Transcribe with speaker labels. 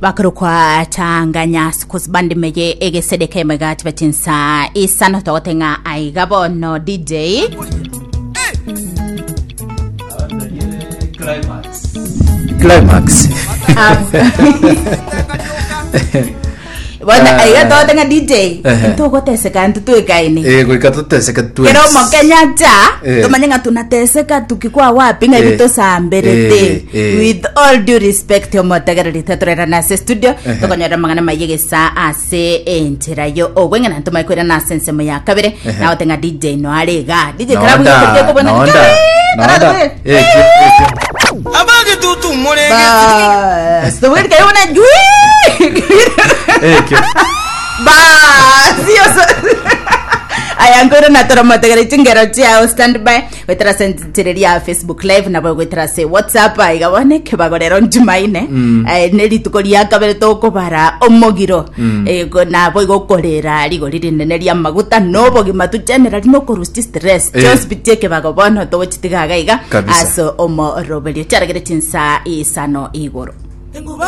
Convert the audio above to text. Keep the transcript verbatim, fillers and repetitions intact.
Speaker 1: Bakorokwa Changanya Schools Band meye egesedeka emegati bachinsa isano. Togotenga aiga bono, D J.
Speaker 2: Climax.
Speaker 1: Bono
Speaker 2: Ah.
Speaker 1: aiga togotenga, D J,
Speaker 2: Ehe.
Speaker 1: ntogoteseka ntutwekaine.
Speaker 2: Eh, goika tuteseke twes.
Speaker 1: Kero omokenya cha
Speaker 2: Eh.
Speaker 1: tumanye ng'a tunateseka tukikwa wapi, ng'a
Speaker 2: Eh.
Speaker 1: ebitosamberete.
Speaker 2: Eh, eh.
Speaker 1: With all due respect, omotegererite torera ase studio,
Speaker 2: Ehe.
Speaker 1: tokonyora mang'ana maye gesa ase enchera yo obweng'ana ntomanye kwirana ase ensemo ya kabere.
Speaker 2: Ehe.
Speaker 1: Nagotenga D J no arega D J.
Speaker 2: Nonda, nonda, nonda. Eh, kio, eh, kio.
Speaker 3: Abagitutu murege.
Speaker 1: Bas, tobweri jui.
Speaker 2: Eh, kio.
Speaker 1: Bas, yo aya nkoro natora motegere chingero chiao standby gwetera sentereria Facebook Live nabo gwetera se WhatsApp. Aiga bone kebagorero njumaine. Eh, ne rituko ria kabere tokobara omogiro. Eh, go- nabo igokorera rigori rinene ria maguta nobogima tu generally nokorusti stress.
Speaker 2: Eh.
Speaker 1: Just bitie kebago bono togochitigaga iga
Speaker 2: Kabisa.
Speaker 1: ase omoroberio chiaragere chinsa isano igoro.
Speaker 3: Enguba.